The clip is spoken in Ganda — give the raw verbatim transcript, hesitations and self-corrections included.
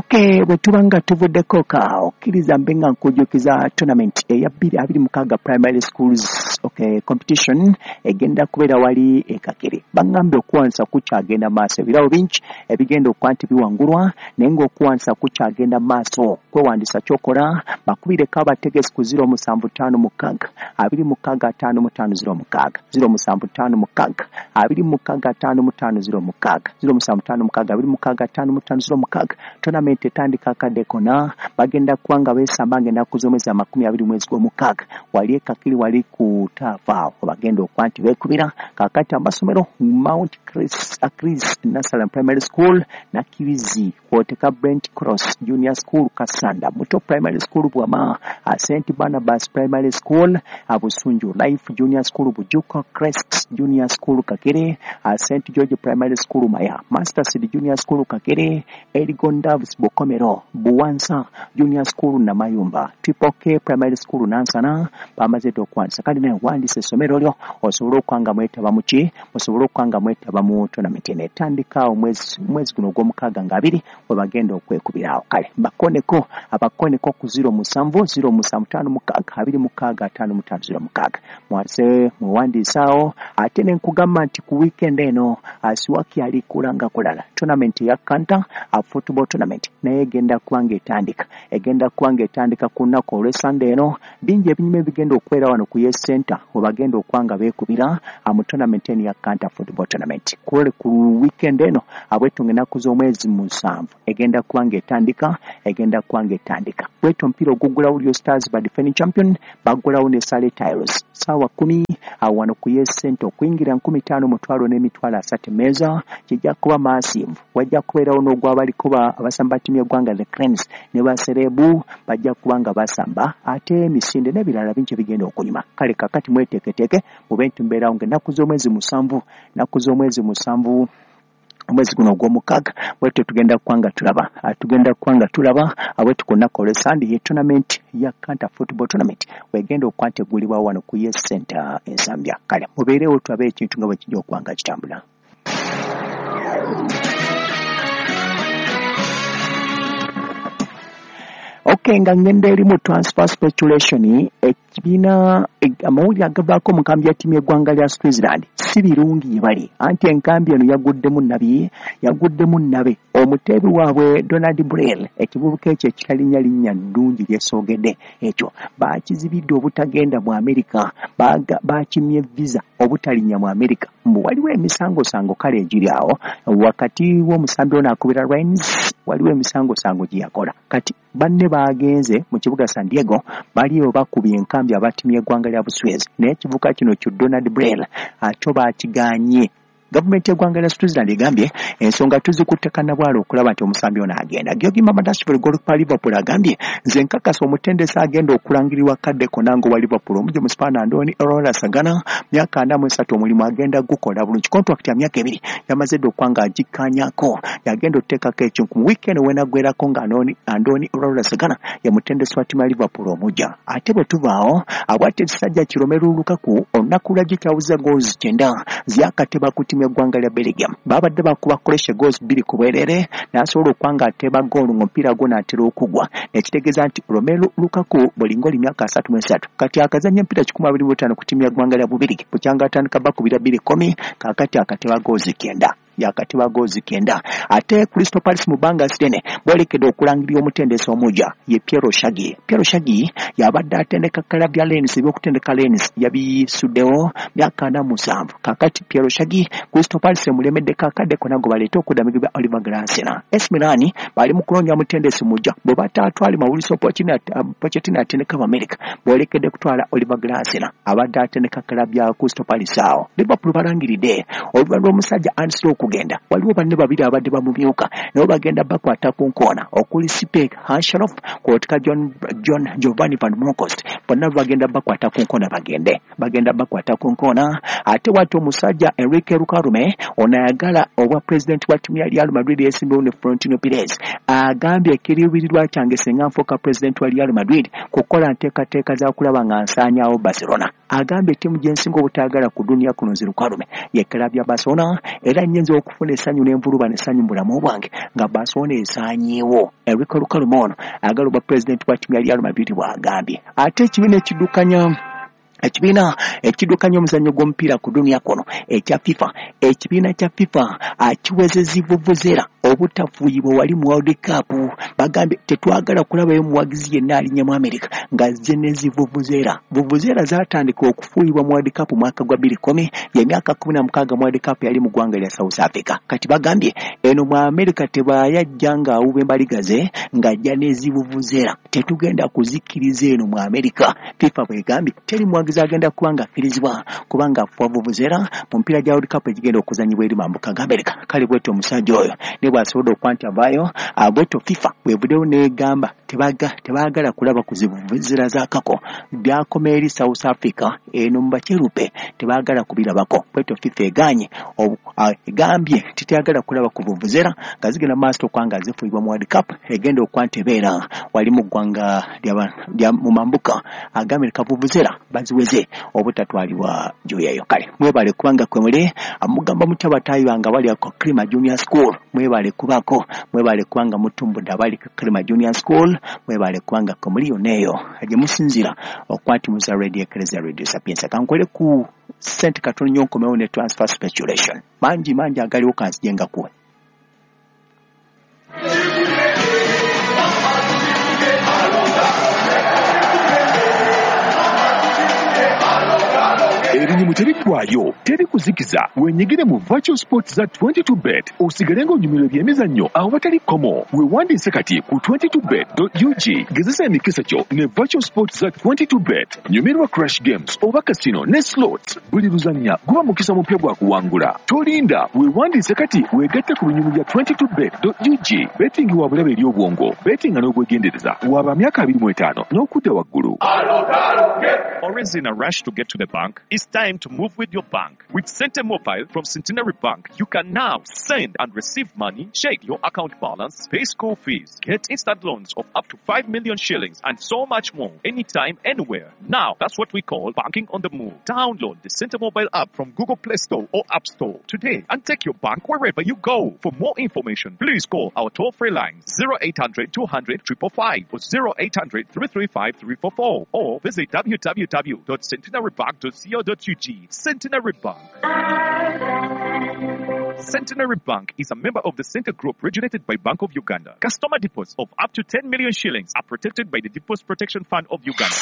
Okay, bwe tuba nga tuvuddeko ka okkiriza mbe nga nkujjukiza tournament eya bbiri abiri mukaaga primary schools okay, competition egenda kubeera wali e Kakiri. Bangambye okuwansa kukyagenda maaso, ebirabo bingi ebigenda okuba nti biwangulwa, naye ng'okuwansa kukyagenda maaso. Kwewandisa kyokola bakubireko abategesi ku ziro musanvu ttaano mukaaga abiri mukaaga ataano mu ttaano ziro mukaaga ziro musanvu ttaano mukaaga abiri mukaaga ataano mu ttaano ziro mukaaga ziro musanvu ttaano mukaaga abiri mukaaga ataano mu ttaano ziro mukaaga. Tournament etandika akadde kona, bagenda kuba nga beesamba ng'ennaku z'omwezi amakumi abiri mwezi gw'omukaaga wali e Kakiri, wali ku taafa awo bagenda okuba nti beekubira. Kaakati amasomero Mount Chris, Chris Nasalam Primary School, Nakirizi kwoteka Brent Cross Junior School Kasanda, Muto Primary School Bwama, Saint Barnabas Primary School Busunju, Life Junior School Bujuko, Crest Junior School Kakiri, Saint George Primary School Maya, Master City Junior School Kakiri, Eligon Davis Bukomero, Buwansa Junior School Namayumba, Triple K Primary School Nansana. Bamaze okwansa kale naye wandise essomero lyo osobole okwanga mwetaba muki, osobole okwanga mwetaba mu tournament eno etandika omwezi omwezi guno ogw'omukaaga nga abiri we bagenda okwekubirawo. Kale bakoneko abakoneko ku ziro musanvu ziro musanvu ttaano mukaaga abiri mukaaga ataano mu ttaano ziro mukaaga mwase muwandiisaawo. Ate ne nkugamba nti ku weekend eno Asiwaki ali kulanga kulala tournament ya Kanta a football tournament naye egenda kuba nga etandika egenda kuba nga etandika ku lunaku olw'Sande eno. Bingi ebinyuma ebigenda okubeera wano ku Yes Center we bagenda okuba nga beekubira mu tournament eno ya Kanta football tournament kule ku weekend eno abwetunga ennaku z'omwezi musanvu egenda kuba nga etandika egenda kuba nga etandika. Bwetyo omupiira oguggulawo Rio Stars ba defending champion baggulawo ne Sale Tiles ssaawa kkumi awo wano ku Yes Center okuyingira nkumi ttaano mutwalo n'emitwalo asatu emmeeza kijja kuba massive. Wajja kubeerawo n'ogwabaliko abasamba ttiimu y'eggwanga the Cranes ne baserebu bajja kuba nga basamba, ate emisinde n'ebirala bingi ebigenda okunyuma. Kale kakati mweteeketeeke mube nti mubeerawo ng'ennaku z'omwezi musanvu ennaku z'omwezi musanvu omwezi guno ogw'omukaaga bwetyo tugenda kuba nga tulaba tugenda kuba nga tulaba abwetu ku lunaku olw'Sande ye tournament ya Kanta football tournament wegenda okuba nti eggulibwawo wano ku Yes Center Ensambya. Kale mubeerewo tulabe ekintu nga bwe kijja okuba nga kitambula. Okay, nga ngenda eri mu transfer speculation, ekibiina amawulire agavaako mu nkambi ya ttiimu y'eggwanga lya Switzerland si birungi gye bali, anti enkambi eno yaguddemu nnabi yaguddemu nnabe omuteebi waabwe Donald Brel, ekivubuka ekyo ekitalinnya linnya ddungi lyesoogedde ekyo baakizibidde obutagenda mu Amerika, baakimye visa obutalinnya mu Amerika. Mbu waliwo emisangosango kale egiri awo wakati w'omusambi ono akubira Rennes, waliwo emisangosango gye yakola. Kati banne bagenze mu kibuga San Diego baliyo bakubye enkambi aba ttiimu y'eggwanga lya Buswezi, naye ekivubuka kino kyo Donald Brel akyo baakiganye. Gavumenti y'eggwanga lya Switzerland egambye ensonga tuzikutte kannabwala okulaba nti omusambi ono agenda. Giorgi Mamardashvili golikipa Liverpool agambye nze nkakasa omutendesi agenda okulangirirwa kadde konna ng'owa Liverpool omujja Omusipaana Andoni Iraola Sagana myaka ana mu esatu omulimu agenda gukola bulungi. Contract ya myaka ebiri yamaze dda okuba nga agikkaanyako, yagenda okuteekako ekintu mu weekend wenaggwerako nga Andoni Iraola Sagana ye mutendesi wa ttiimu ya Liverpool omujja. Ate bwe tuvaawo abwate ekisajja ki Romelu Lukaku olunaku lwajjo kyawuza goals kyenda zyakateba ku ttiimu y'eggwanga lya Belgium. Babadde bakuba Croatia goals bbiri ku bwerere n'asobola okuba nga ateeba goolu ng'omupiira gwo n'atera okugwa, nekitegeeza nti Romelu Lukaku bulinga oli myaka asatu mu esatu kati akazannya emipiira kikumi abiri mu etaano ku ttiimu y'eggwanga lya Bubirigi bukyanga atandika bakubira bbiri kkumi kaakati akateba goals kyenda yakateba goals kyenda. Ate Crystal Palace mu bbanga ddene boolekedde okulangirira omutendesi omujja ye Piero Shagi. Piero Shagi yabadde atendeka club ya Lens, ebyokutendeka Lens yabisuddewo myaka ana musanvu. Kaakati Piero Shagi Crystal Palace emulemeddeko akadde konna gwe baleeta okudda Oliver Glasner. A C Milan bali mu kunoonya mutendesi mujja bwe bataatwale Mauricio Pochettino atendeka America boolekedde kutwala Oliver Glasner abadde atendeka club ya Crystal Palace awo. Liverpool balangiridde oluvannyuma lw'omusajja Ancelotti okugenda, waliwo banne babiri abadde bamumyuka nabo bagenda bakwata ku nkoona okuli Sipek Hansharof kw'otika John, John Giovanni Van Bronckhorst, bonna bagenda bakwata ku nkoona bagende bagenda bakwata ku nkoona. Ate wati omusajja Enrique Rukarume ono ayagala obwa pulezidenti wa ttiimu ya Real Madrid yeesimbyewo ne Florentino Perez agambye ekiriibirirwa kyange singa nfuuka pulezidenti wa Real Madrid kukola nteekateeka za kulaba nga nsaanyaawo Barcelona. Agambye ttiimu gye nsinga obutaagala ku duniya kuno nzi Rukarume ye club ya Barcelona, era nnyinza Nyinza okufuna essanyu n'envulubano essanyu mu bulamu bwange nga Barcelona esaanyeewo. Enrique Lukalume ono agala obwa pulezidenti bwa ttiimu ya Real Madrid bw'agambye. Ate ekibiina ekiddukanya ekibiina ekiddukanya omuzannyo gw'omupiira ku dunia kuno ekya FIFA, ekibiina kya FIFA akiweze vuvuzera obutafuuyibwa wali mu World Cup. Bagambye tetwagala kulabayo muwagizi yenna alinnya mu America ng'azze ne zivuvuzera. Vuvuzera zaatandika okufuuyibwa mu World Cup mwaka gwa bbiri kkumi, y'emyaka kkumi na mukaaga mu World Cup yali mu ggwanga lya South Africa. Kati bagambye eno mu America tebayajja ng'awuba embaliga ze ng'ajja n'ezivuvuzera, tetugenda kuzikkiriza eno mu America. FIFA bw'egambye teri muwagizi agenda kuba nga affirizibwa kubanga afuwa vuvuzera mu mipiira gya World Cup egigenda okuzannyibwa eri mambuka ga America. Kale bwetyo omusajja oyo ne bw'asobodde okuba nti avaayo, bwetyo FIFA bw'evuddeyo n'egamba tebaagala kulaba ku zivuvuzera z'akako byakoma eri South Africa eno mu bakirupe tebaagala kubirabako. Bwetyo FIFA egaanye egambye titeyagala kulaba ku vuvuzera nga zigenda mu maaso okuba nga zifuuyibwa mu World Cup egenda okuba nti ebeera wali mu ggwanga lya mu mambuka aga America. Vuvuzera baziweze obutatwalibwa gy'oyayo. Kale mwebale kubanga kwe muli mugamba mutya bataayi bange abali ku Krima Junior School, mwebale kubako, mwebale kubanga mutumbudde abali ku Krima Junior School, mwebale kubanga kwe muli yonna eyo gye musinziira okuba nti muza Radio Eklezia Radio Sapientia. Kankole ku ssente katono nnyo nkomewo ne transfer speculation mangi mangi agaliwo kanzije ngakuwe. Ebinyumu tebiggwaayo, teri kuzikiza. Wenyigire mu virtual sports za twenty-two bet osigale ng'onyumirwa ebyemizannyo awatali kkomo. Weewandiise kati ku twenty-two bet dot U G. Gezesa emikisa gyo ne virtual sports za twenty-two bet. Nyumirwa crash games oba casino ne slots. Buli luzannya guba mukisa mupya gwa kuwangula. Tolinda, weewandiise kati weegatte ku binyumu bya twenty-two bet dot U G. Betting wa bulabe eri obwongo, bettinga n'obwegendereza. Waba myaka abiri mu etaano n'okudda waggulu. Always in a rush to get to the bank? It's time to move with your bank. With Sente Mobile from Centenary Bank, you can now send and receive money, check your account balance, pay school fees, get instant loans of up to five million shillings, and so much more, anytime, anywhere. Now, that's what we call banking on the move. Download the Sente Mobile app from Google Play Store or App Store today and take your bank wherever you go. For more information, please call our toll-free line zero eight hundred two hundred five five five or zero eight hundred three three five three four four or visit w w w dot centenary bank dot co dot U G. Centenary Bank. Centenary Bank is a member of the Center Group regulated by Bank of Uganda. Customer deposits of up to ten million shillings are protected by the Deposit Protection Fund of Uganda.